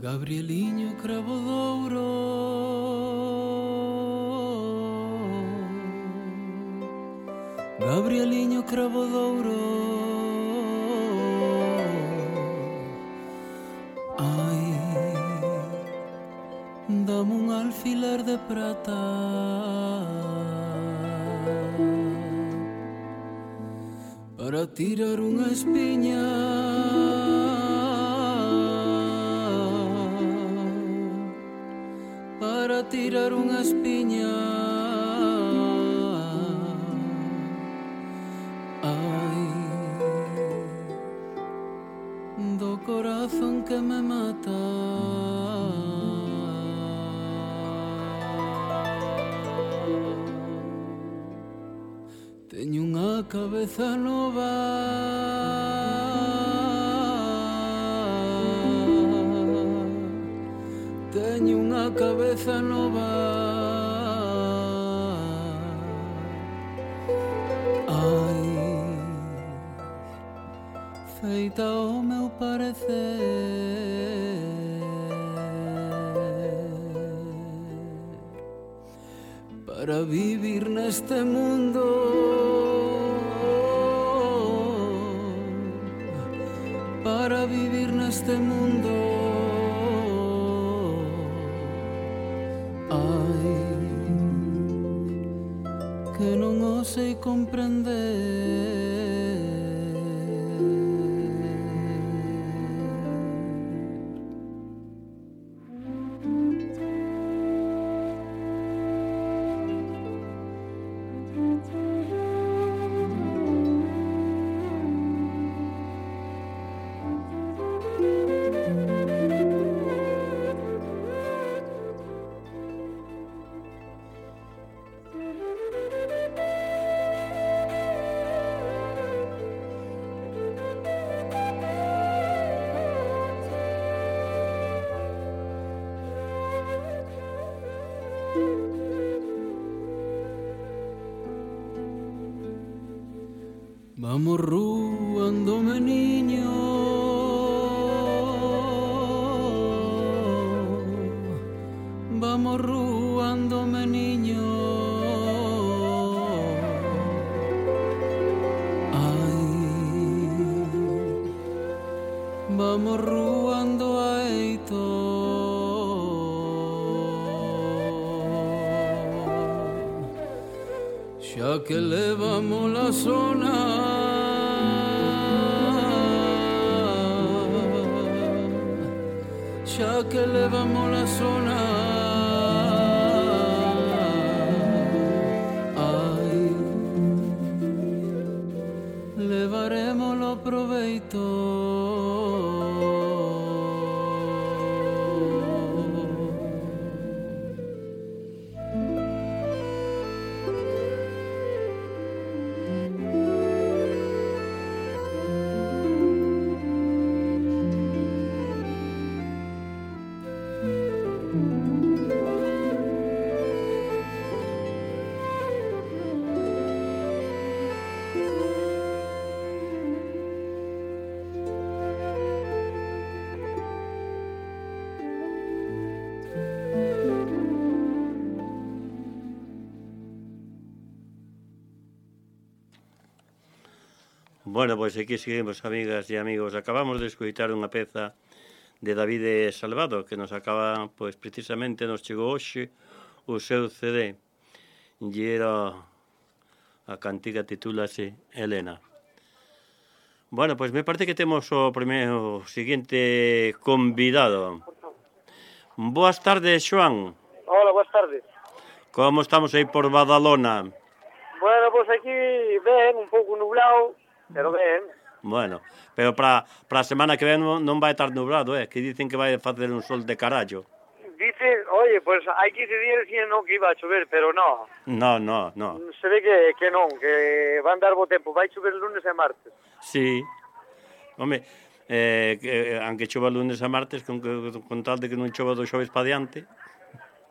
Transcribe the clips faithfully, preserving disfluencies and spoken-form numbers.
Gabrieliño cravo douro, Gabrieliño cravo douro, ai, dame un alfiler de prata para tirar unha espiña, para tirar unha espiña. Ai, do corazón que me mata. Teño unha cabeza nova, teño unha cabeza nova, ai, feita ao meu parecer, para vivir neste mundo, para vivir neste mundo. Ai, que non o sei comprender. Vamos ruando, meniño, vamos ruando, meniño, ai, vamos ruando a eito, xa que levamos la zona, xa que levamos la zona, ai, levaremoslo proveito. Bueno, pois aquí seguimos, amigas e amigos. Acabamos de escoitar unha peza de David Salvado que nos acaba, pois precisamente nos chegou hoxe o seu C D e era a cantiga titúlase Helena. Bueno, pois me parece que temos o primeiro seguinte convidado. Boas tardes, Xoán. Hola, boas tardes. Como estamos aí por Badalona? Bueno, pois aquí ben, un pouco nublado, pero ben. Bueno, pero para a semana que ven non vai estar nublado, eh? Que dicen que vai facer un sol de carallo. Dice, oye, pois pues, hai quince días que non que iba a chover, pero non. No, no, no. Se ve que, que non, que van dar bo tempo, vai chover lunes e martes. Sí. Home, eh, que, aunque chova lunes e martes, con, con tal de que non chova do xoves pa diante.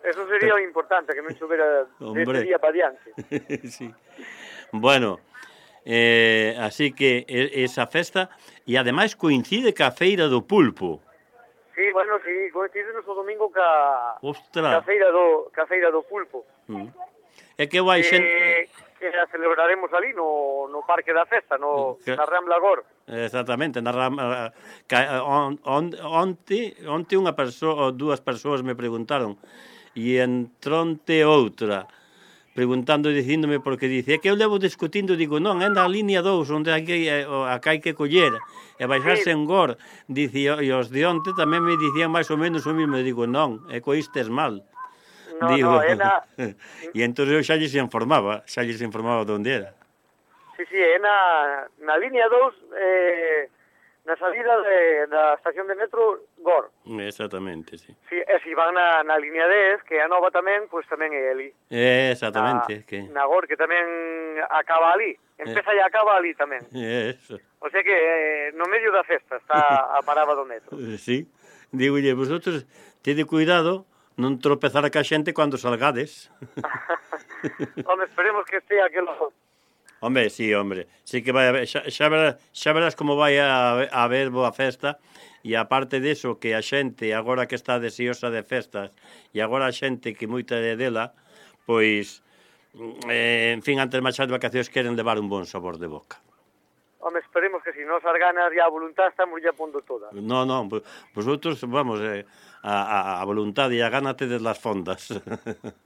Eso sería o importante, que non chovera deste día pa diante. Sí. Bueno, eh, así que esa festa, e ademais coincide ca Feira do Pulpo. Sí, bueno, sí, coincidimos o domingo ca, Ostras. ca, feira do, ca feira do pulpo. Mm. É que vai xente... Que, que a celebraremos ali no, no Parque da Festa, no, Que... na Rambla Gor. Exactamente, na Rambla... On, on, onte, onte unha persoa, ou dúas persoas me preguntaron, e entronte outra, preguntando e dicíndome, porque dice, é que eu levo discutindo, digo, non, é na línea dous, onde hai que, acá hai que coller, e baixarse sí. en Gor, dice, e os de onte tamén me dicían máis ou menos o mismo, digo, non, é coístes mal. No, digo, no, é na... e entón eu xa lles informaba, xa lles informaba onde era. Sí, sí, é na, na línea dous, eh, na salida de, da estación de metro Gor. Exactamente, sí. Sí, e se van na, na línea dez, que é a nova tamén, pois tamén é ali. Exactamente. Na, que... na Gor, que tamén acaba ali. Empeza eh. e acaba ali tamén. Eso. O sea que eh, no medio da festa está a parada do metro. Sí. Digolle, vosotros tede cuidado non tropezar ca xente cando salgades. Home, esperemos que estea aquelo... Hombre, sí, hombre. Sí que vai a ver, xa, xa, verás, xa verás como vai a, a ver boa festa, e aparte deso que a xente, agora que está deseosa de festas, e agora a xente que moita de dela, pois, eh, en fin, antes de marchar de vacacións queren levar un bon sabor de boca. Home, esperemos que si nos as ganas e a voluntad estamos ya pondo toda. No, no, vosotros, vamos, eh, a, a, a voluntad e a gana tedes las fondas.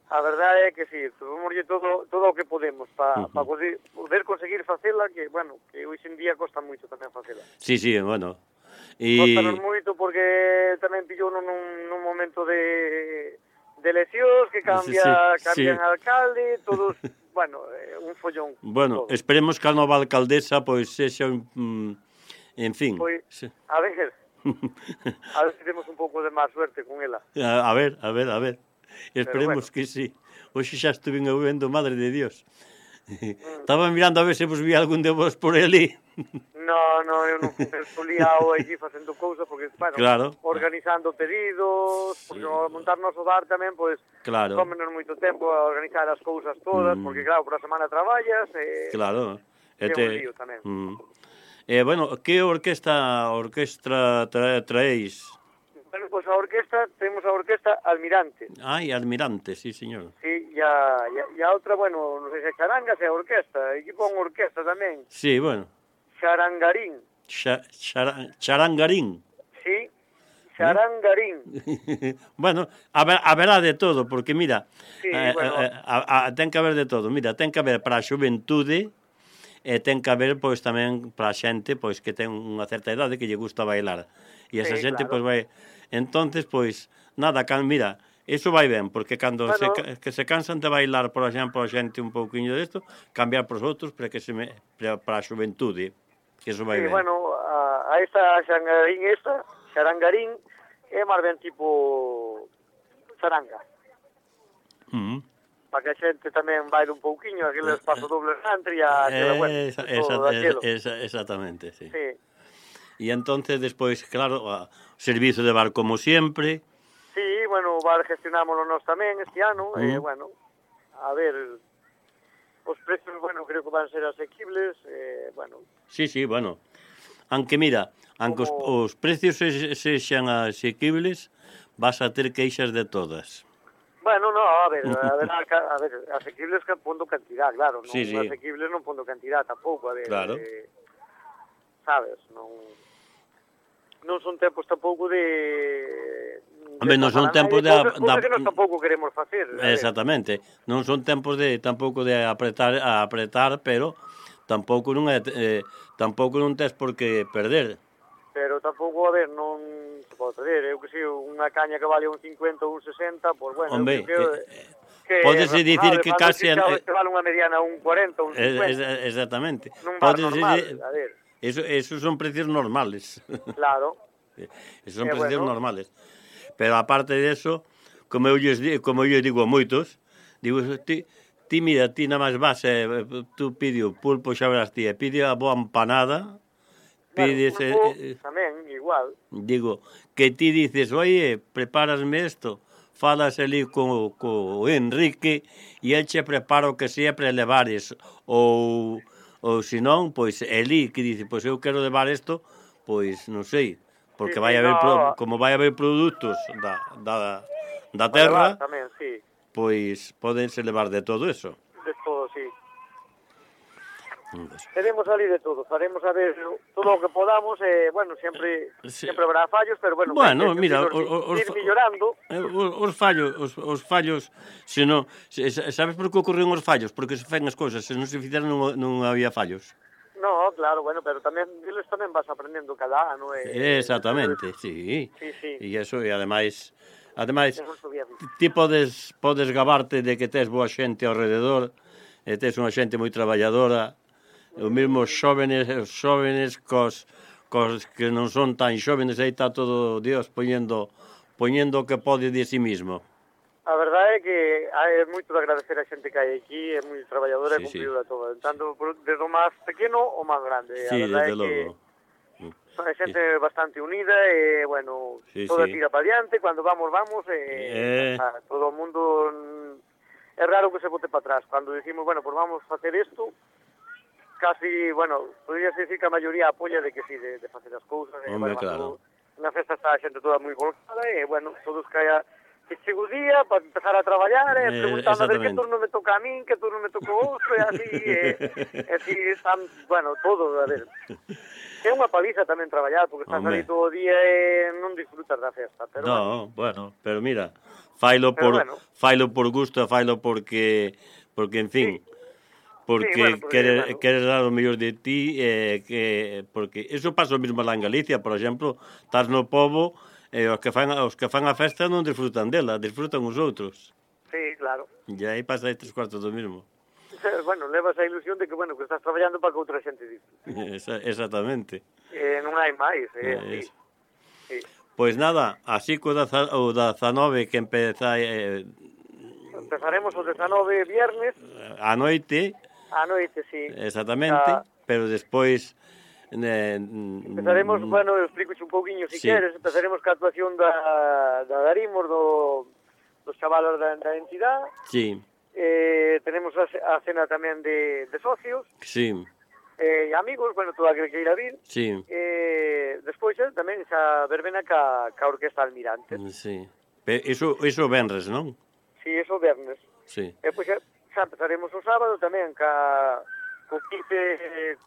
A verdade é que si, tomamos todo, todo o que podemos para uh -huh. pa poder, poder conseguir facela, que, bueno, que hoxe en día costa moito tamén facela. Sí, sí, bueno. Y... Costanos moito porque tamén pillou nun, nun momento de, de eleccións, que cambia, sí, sí, cambian sí. alcalde, todos... Bueno, eh, un follón. Bueno, todo. Esperemos que a nova alcaldesa, pois, sexa un... Mm, en fin. Pois, sí. a ver, a ver se temos un pouco de máis suerte con ela. A, a ver, a ver, a ver. Esperemos bueno. que sí. Hoxe xa estuve vendo, madre de Dios. Mm. Estaba mirando a ver se vos vi algún de vos por ali. No, no, eu non estou liado aquí facendo cousas, porque, bueno, claro. organizando pedidos, sí. Porque ao montarnos o bar tamén, pois, claro. Tómenos moito tempo a organizar as cousas todas, mm. porque, claro, por a semana traballas, e... Claro. É te... un lío tamén. Mm. Eh, bueno, que orquesta, orquestra tra traéis? Bueno, pois a orquesta, temos a orquesta Almirante. Ai, Almirante, sí, señor. Sí, e a, e a outra, bueno, non sei se charanga, se a orquesta, aquí pon orquesta tamén. Sí, bueno. Charangarín. Cha, chara, charangarín. Sí, charangarín. ¿Eh? Bueno, haber, haberá de todo, porque mira, sí, eh, bueno. eh, a, a, ten que haber de todo. Mira, ten que haber para a xuventude, e ten que haber, pois, tamén para a xente, pois, que ten unha certa idade que lle gusta bailar. E esa sí, xente, claro. Pois, vai... Entonces, pois, nada, can, mira... Eso vai ben, porque cando bueno, se, que se cansan de bailar, por exemplo, a xente un pouquiño desto, cambiar pros outros para que se me, para, para a xuventude, que eso vai sí, ben. Bueno, a, a esta xangarín esta, xarangarín, é máis ben tipo charanga. Uh -huh. Para que a xente tamén baile un pouquiño, aqueles pasos dobles country, a aquela, bueno, esa, esa, esa, esa, exactamente, sí. Sí. E entonces, despois, claro, o servizo de bar como sempre. Sí, bueno, o bar gestionámoslo nós tamén este ano, uh -huh. e, bueno, a ver, os precios, bueno, creo que van ser asequibles, eh, bueno. Sí, sí, bueno, aunque mira, aunque como... os, os precios se, sexan asequibles, vas a ter queixas de todas. Bueno, no, a ver, a ver, a ver, asequibles que pondo cantidad, claro, non sí, sí. Asequibles non pondo cantidad tampouco, a ver, claro. eh, sabes, non... non son tempos tampouco de... Hombre, non son tempos de... Cousas que nós tampouco queremos facer. Exactamente. Non son tempos de tampouco de apretar, a apretar, pero tampouco non é, eh, tampouco non tes por que perder. Pero tampouco, a ver, non se pode perder. Eu que sei, unha caña que vale un cincuenta ou un sesenta, pois, bueno, hombre, que, eh, que pódese dicir que case... Que vale unha mediana un cuarenta ou un cincuenta. Exactamente. Nun bar normal, a ver... Eso, esos son precios normales. Claro. Esos son eh, precios bueno. normales. Pero aparte de eso, como eu lles, como eu digo a moitos, digo, ti, ti mira, ti nada máis vas, eh, tú pide o pulpo, xa verás ti, pide a boa empanada, pides... Claro, eh, tamén, igual. Digo, que ti dices, oye, prepárasme isto, falas ali co, co Enrique, e el che prepara o que sea para levares, ou... ou senón, pois, Eli, que dice, pois eu quero levar isto, pois, non sei, porque sí, vai sí, haber no. pro, como vai haber produtos da, da, da Para terra, levar tamén, sí. pois podense levar de todo eso. De todo, sí. Entonces, Teremos ali de todo, faremos a ver todo o que podamos, e, eh, bueno, sempre sí. sempre habrá fallos, pero, bueno, Bueno, que mira, ir, os, ir millorando. os, os fallos, os, os fallos, se non, se, sabes por que ocorren os fallos? Porque se fan as cousas, se non se fixeran non, non había fallos. No, claro, bueno, pero tamén diles tamén vas aprendendo cada ano. E, Exactamente, e, sí. Sí, sí. E eso, e ademais, ademais, Ti, ti podes, podes gabarte de que tes boa xente ao rededor, e tes unha xente moi traballadora, os mesmos xóvenes, os xóvenes cos, cos que non son tan xóvenes, aí está todo Dios poñendo, poñendo o que pode de si mismo. A verdade é que é moito de agradecer a xente que hai aquí, é moi traballadora sí, e cumplidora sí. Todo, tanto desde o máis pequeno ao máis grande. Sí, a verdade desde é que logo. Son xente sí. bastante unida e, bueno, sí, toda sí. tira para diante, cando vamos, vamos, e eh... todo o mundo é raro que se bote para atrás. Cando dicimos, bueno, pues vamos a facer isto, casi, bueno, podría decir que a maioría apoia de que sí, de, de facer as cousas. Hombre, bueno, claro. Na festa está a xente toda moi volcada e, bueno, todos caia que chego o día para empezar a traballar e eh, preguntando a ver que turno me toca a min, que turno me toca o outro, e así, e, e así están, bueno, todo, a ver. É unha paliza tamén traballar, porque estás ali todo o día e non disfrutas da festa. Pero no, bueno, bueno pero mira, failo por, bueno. failo por gusto, failo porque, porque en fin, sí. porque sí, bueno, queres, bueno. queres dar o mellor de ti, eh, que, porque eso pasa o mesmo lá en Galicia, por exemplo, estás no pobo, e os que fan os que fan a festa non disfrutan dela, disfrutan os outros. Sí, claro. E aí pasa aí tres cuartos do mesmo. Bueno, levas a ilusión de que, bueno, que estás traballando para que outra xente disfrute. Esa, exactamente. Eh, non hai máis, eh, sí. sí. Pois nada, así co da, o dezanove que empeza... Eh, Empezaremos o dezanove viernes. A noite. A noite, sí. Exactamente, a... pero despois... Eh, empezaremos, mm, bueno, eu explico un pouquiño se si sí. queres, empezaremos ca actuación da, da Darimos, do, dos chavalos da, da entidade. Sí. Eh, tenemos a, a cena tamén de, de socios. Sí. Eh, amigos, bueno, toda a que queira vir. Sí. Eh, despois eh, tamén xa verbena ca, ca Orquesta Almirante. Sí. Iso, iso venres, non? Sí, iso vernes. Sí. E pois xa, xa empezaremos o sábado tamén ca, co quince... Eh,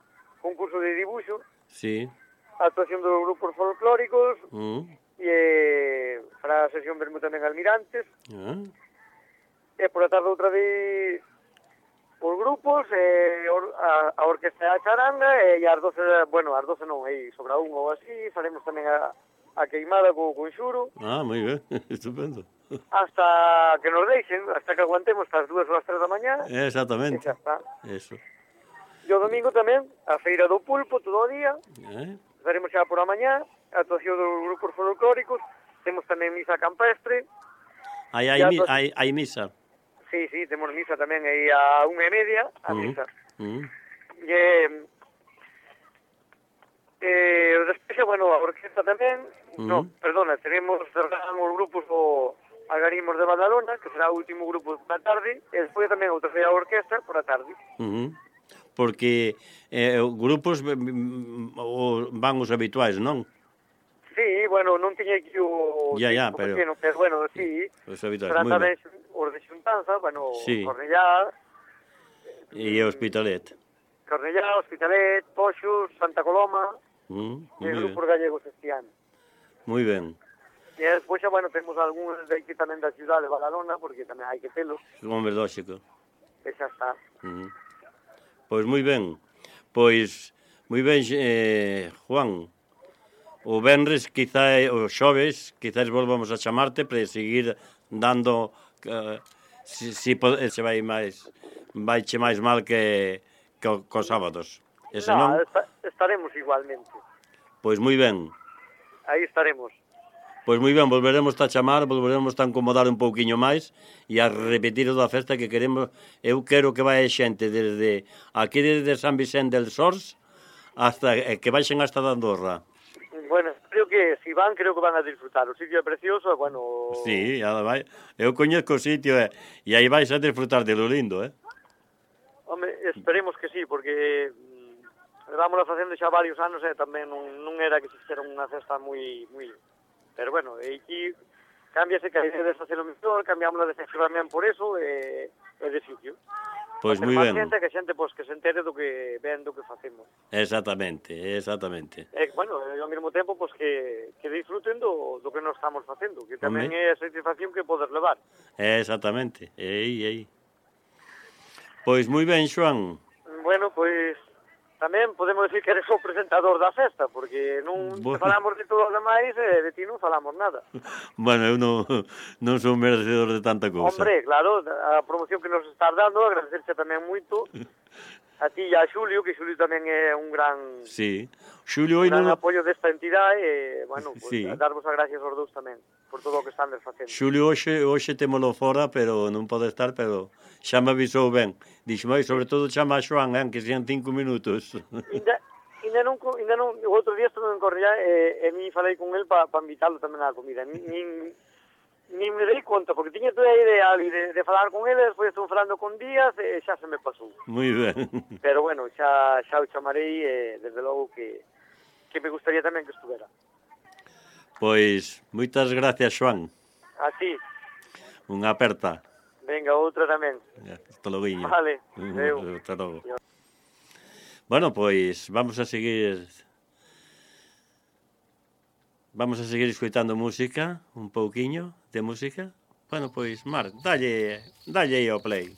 concurso de dibuixo, sí. A actuación dos grupos folclóricos, mm. e eh, fará a sesión vermú tamén Almirantes, ah. e por a tarde outra vez por grupos, e or, a, a orquesta a charanga, e as doce, bueno, as doce non, aí sobra un ou así, faremos tamén a, a queimada co conxuro. Ah, moi ben, estupendo. Hasta que nos deixen, hasta que aguantemos hasta as dúas ou as tres da mañá. Exactamente. E xa está. Eso. E o domingo tamén, a feira do pulpo, todo o día. Eh? Faremos xa por a mañá, a actuación dos grupos folclóricos. Temos tamén misa campestre. Hai, hai, mi, hai, hai misa? Sí, sí, temos misa tamén aí a unha e media, a uh-huh. misa. Uh-huh. E, eh, despois, bueno, a orquesta tamén. Uh-huh. No, perdona, tenemos cerramos os grupos o Algarimos de Badalona, que será o último grupo da tarde, e despois tamén outra feira a orquesta por a tarde. Uh-huh. Porque eh, grupos van os habituais, non? Sí, bueno, non tiña aquí o... Ya, ya, pero... Pequeno, pero bueno, sí. Os habituais, moi ben. Os de Xuntanza, bueno, sí. Cornellá... E Hospitalet. Cornellá, Hospitalet, Poxos, Santa Coloma... Mm, e grupos gallegos este ano. Moi ben. E despois, bueno, temos algúns de aquí tamén da ciudad de Badalona, porque tamén hai que telos. Hombre, lógico. E xa está. Mm. Pois moi ben, pois moi ben, eh, Juan, o venres, quizá, o xoves, quizás volvamos a chamarte para seguir dando, uh, si, si se vai máis, vai che máis mal que, que cos sábados. Ese no, non? Esta, estaremos igualmente. Pois moi ben. Aí estaremos. Pois moi ben, volveremos a chamar, volveremos a incomodar un pouquiño máis e a repetir toda a festa que queremos. Eu quero que vai xente desde aquí desde San Vicente del Sors hasta que baixen hasta da Andorra. Bueno, creo que si van, creo que van a disfrutar. O sitio é precioso, bueno... Sí, vai. Eu coñezco o sitio e, e aí vais a disfrutar de lo lindo, eh? Home, esperemos que sí, porque levámosla facendo xa varios anos e tamén non, non era que se fixera unha cesta moi, moi... Pero bueno, e aquí cámbiase que a idea de facelo mellor, cambiámosla de sexo tamén por eso, e, e de sitio. Pois moi ben. Xente, que xente pois, que se entere do que ven, do que facemos. Exactamente, exactamente. E, bueno, e ao mesmo tempo, pois, que, que disfruten do, do que nos estamos facendo, que tamén Home. é a satisfacción que podes levar. Exactamente, aí, aí. Pois moi ben, Xoán. Bueno, pois, tamén podemos decir que eres o presentador da festa, porque non Bueno. falamos de todo o demais e de ti non falamos nada. Bueno, eu non, non sou merecedor de tanta cousa. Hombre, claro, a promoción que nos estás dando, agradecerse tamén moito a ti e a Xulio, que Xulio tamén é un gran, Sí. Xulio, un hoy gran non... apoio desta entidade e, bueno, pues, Sí. darvos as gracias aos dous tamén por todo o que están facendo. Xulio hoxe, hoxe témolo fora, pero non pode estar, pero xa me avisou ben. Dixo, moi, sobre todo chama a Xoán, eh, que sean cinco minutos. Inda, inda non, co- inda non, o outro día estuve en Correa e, e mi falei con el para pa invitarlo tamén á comida. Nin, nin, nin me dei conta, porque tiña toda a idea ali de, de falar con ele, despois estuve falando con Díaz e xa se me pasou. Moi ben. Pero bueno, xa, xa o chamarei e desde logo que, que me gustaría tamén que estuvera. Pois, moitas gracias, Xoán. A ti, Unha aperta. venga, outra tamén. Hasta logo. Vale, adeu. Hasta logo. Bueno, pois, vamos a seguir... Vamos a seguir escoitando música, un pouquiño de música. Bueno, pois, Marc, dalle, dalle aí ao play.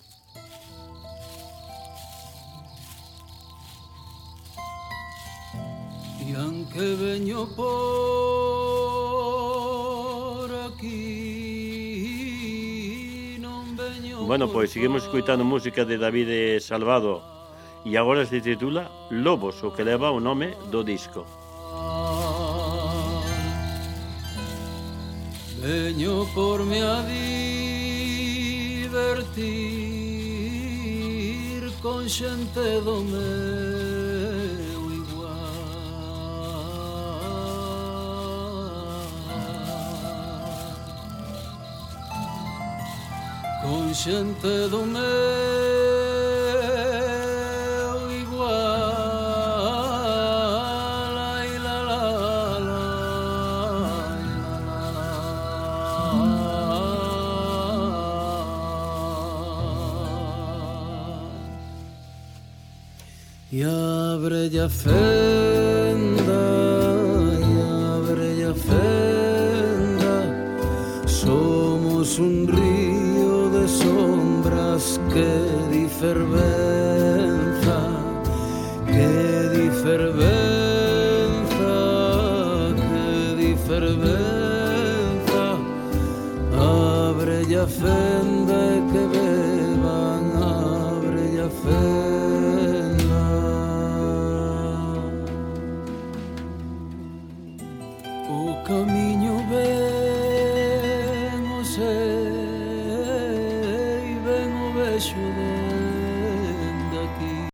Y aunque veño por aquí non veño. Bueno, pois seguimos escoitando música de David Salvado e agora se titula Lobos, o que leva o nome do disco. Veño por me a divertir con xente do meu igual, con xente do meu igual, ai la la la, ai la la la. E abre a fenda, e abre a fenda, somos un río de sombras que di fervenza, que di fervenza, que di fervenza, abre a fenda e que beban, abre a fenda. O camiño ve